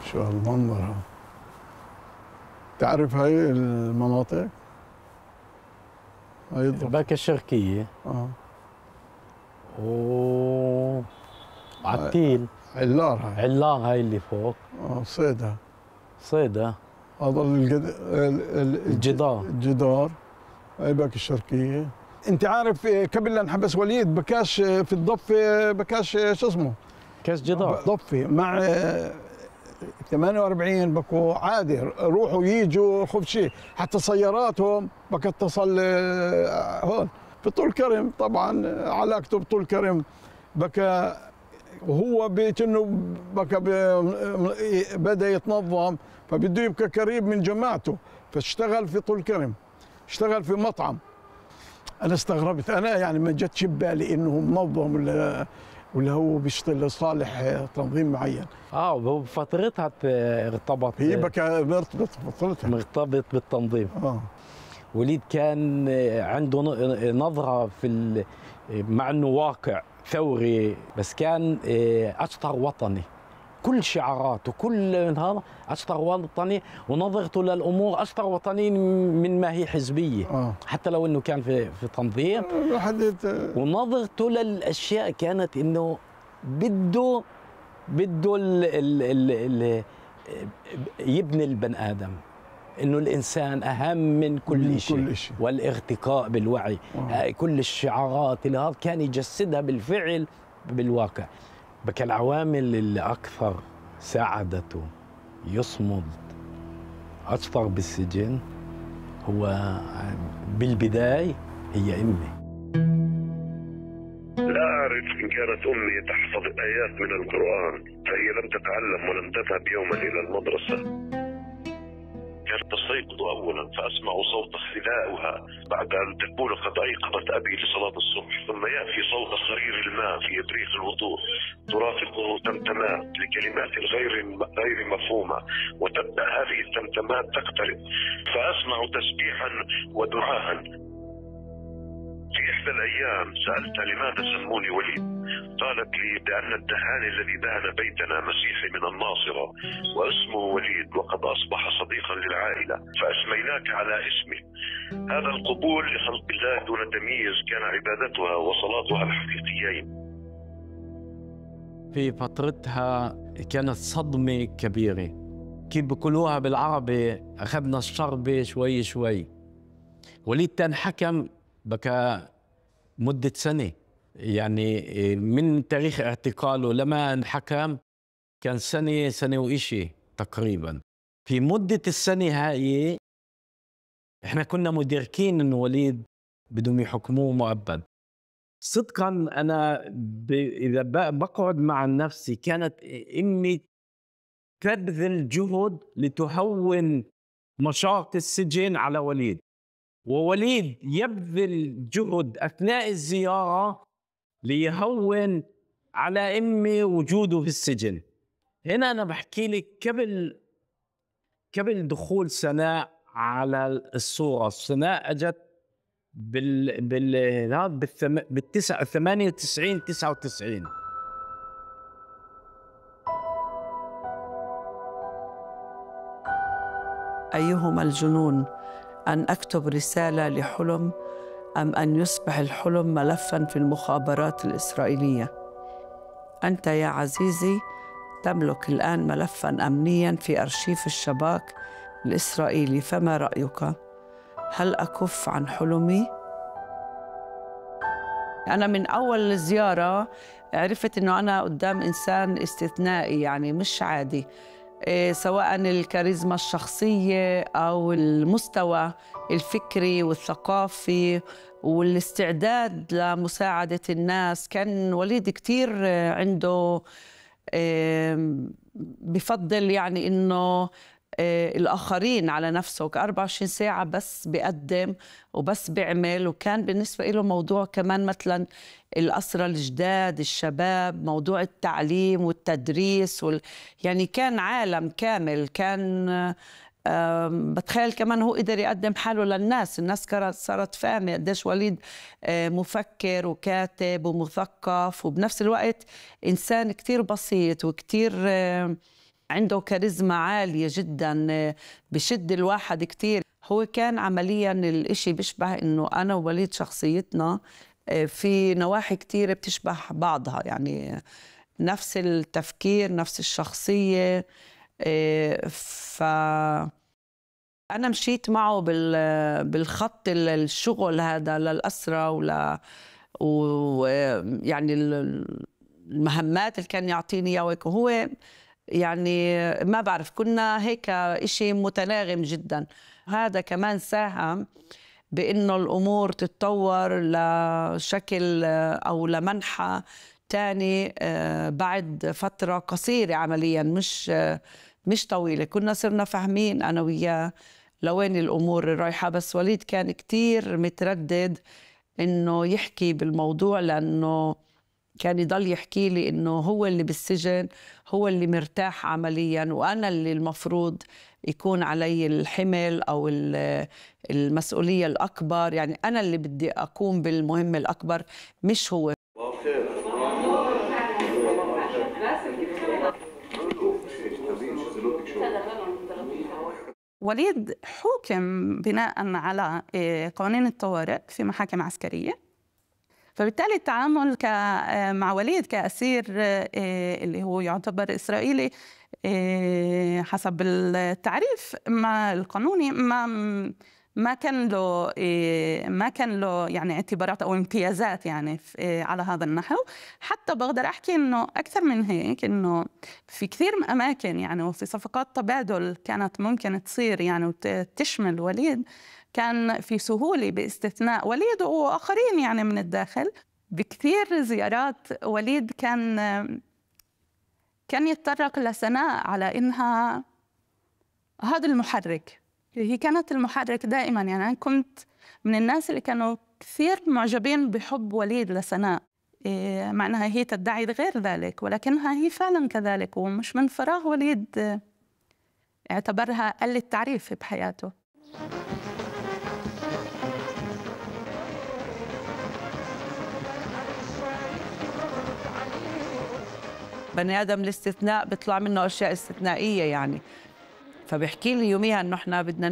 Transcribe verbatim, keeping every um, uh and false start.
شو هالمنظر. تعرف هاي المناطق؟ هاي باكا الشرقية. اه و عتيل. علار هاي. علار هاي اللي فوق. اه صيدا. صيدا. هذا الجد... الجدار. الجدار. هاي باكا الشرقية. انت عارف قبل لا انحبس وليد بكاش في الضفة بكاش شو اسمه؟ كاش جدار. ضفة مع ثمانية وأربعين بكو عادي روحوا ييجوا خذ شيء، حتى سياراتهم بكا اتصل هون في طول كرم. طبعا علاقته بطول كرم بكا وهو كأنه بكا بدا يتنظم فبده يبقى قريب من جماعته، فاشتغل في طول كرم، اشتغل في مطعم. انا استغربت، انا يعني ما جتش ببالي انه منظم ولا ولا هو بيشتغل لصالح تنظيم معين. اه بفترتها ارتبط. هي بكى مرتبط بفترتها مرتبط بالتنظيم. اه وليد كان عنده نظره في مع انه واقع ثوري، بس كان اشطر وطني. كل شعاراته كل هذا اشطر وطني، ونظرته للامور اشطر وطني من ما هي حزبيه. آه. حتى لو انه كان في في تنظيم. حديت. ونظرته للاشياء كانت انه بده بده ال ال ال ال يبني البني ادم، انه الانسان اهم من كل من شيء، كل شيء. والارتقاء بالوعي. آه. كل الشعارات اللي هذا كان يجسدها بالفعل بالواقع. بكى العوامل اللي اكثر ساعدته يصمد اكثر بالسجن هو بالبدايه هي امي. لا أعرف إن كانت أمي تحفظ آيات من القرآن، فهي لم تتعلم ولم تذهب يوما إلى المدرسة. كانت تستيقظ أولا فأسمع صوت خلائها بعد أن تقول قد أيقظت أبي لصلاة الصبح، ثم يأتي صوت صرير الماء في إبريق الوضوء ترافقه تمتمات لكلمات غير غير مفهومة، وتبدأ هذه التمتمات تقترب فأسمع تسبيحا ودعاء. في إحدى الأيام سألتها لماذا سموني وليد؟ قالت لي بأن الدهان الذي دهن بيتنا مسيحي من الناصرة واسمه وليد وقد أصبح صديقا للعائلة فأسميناك على اسمه. هذا القبول لخلق الله دون تمييز كان عبادتها وصلاتها الحقيقيين. في فترتها كانت صدمة كبيرة، كيف بقولوها بالعربي أخذنا الشربة شوي شوي. وليد تنحكم بكى مدة سنة، يعني من تاريخ اعتقاله لما انحكم كان سنة سنة وإشي تقريبا. في مدة السنة هاي احنا كنا مدركين انه وليد بدهم يحكموه مؤبد. صدقا انا ب... اذا بقعد مع نفسي كانت امي تبذل جهد لتهون مشاق السجن على وليد، ووليد يبذل جهد أثناء الزيارة ليهون على أمي وجوده في السجن. هنا أنا بحكي لك قبل قبل دخول سناء على الصورة. سناء أجت بال بال بالثم... بالتسعة ثمانية وتسعين تسعة وتسعين. أيهما الجنون، أن أكتب رسالة لحلم أم أن يصبح الحلم ملفاً في المخابرات الإسرائيلية؟ أنت يا عزيزي تملك الآن ملفاً أمنياً في أرشيف الشباك الإسرائيلي، فما رأيك؟ هل أكف عن حلمي؟ أنا من أول الزيارة عرفت أنه أنا قدام إنسان استثنائي، يعني مش عادي، سواء الكاريزما الشخصية أو المستوى الفكري والثقافي والاستعداد لمساعدة الناس. كان وليد كتير عنده بفضل يعني إنه الآخرين على نفسه، أربعة وعشرين ساعة بس بيقدم وبس بيعمل. وكان بالنسبة له موضوع كمان مثلا الأسرى الجداد الشباب، موضوع التعليم والتدريس وال... يعني كان عالم كامل. كان بتخيل كمان هو قدر يقدم حاله للناس. الناس صارت فاهمة قديش وليد مفكر وكاتب ومثقف، وبنفس الوقت إنسان كتير بسيط وكتير عنده كاريزما عالية جدا، بشد الواحد كتير. هو كان عمليا الاشي بيشبه انه انا ووليد شخصيتنا في نواحي كتير بتشبه بعضها، يعني نفس التفكير نفس الشخصية. ف أنا مشيت معه بالخط الشغل هذا للأسرة ولا ويعني المهمات اللي كان يعطيني إياه، وهو يعني ما بعرف كنا هيك إشي متناغم جدا. هذا كمان ساهم بإنه الأمور تتطور لشكل أو لمنحى تاني بعد فترة قصيرة عمليا، مش مش طويلة. كنا صرنا فاهمين أنا وياه لوين الأمور رايحة، بس وليد كان كتير متردد إنه يحكي بالموضوع، لأنه كان يضل يحكي لي إنه هو اللي بالسجن، هو اللي مرتاح عمليا، وأنا اللي المفروض يكون علي الحمل أو المسؤولية الأكبر، يعني أنا اللي بدي أقوم بالمهمة الأكبر مش هو. وليد حُكم بناءً على قوانين الطوارئ في محاكم عسكرية، فبالتالي التعامل مع وليد كأسير اللي هو يعتبر إسرائيلي حسب التعريف ما القانوني ما ما كان له ما كان له يعني اعتبارات أو امتيازات يعني على هذا النحو. حتى بقدر أحكي إنه أكثر من هيك، إنه في كثير من أماكن يعني وفي صفقات تبادل كانت ممكن تصير يعني وتشمل وليد، كان في سهولة باستثناء وليد وآخرين يعني من الداخل. بكثير زيارات وليد كان كان يتطرق لسناء على إنها هذا المحرك، هي كانت المحرك دائما. يعني أنا كنت من الناس اللي كانوا كثير معجبين بحب وليد لسناء، مع أنها هي تدعي غير ذلك، ولكنها هي فعلا كذلك، ومش من فراغ وليد اعتبرها قلة تعريف بحياته. بني آدم الاستثناء بيطلع منه أشياء استثنائية يعني. فبحكي لي يوميها إنه إحنا بدنا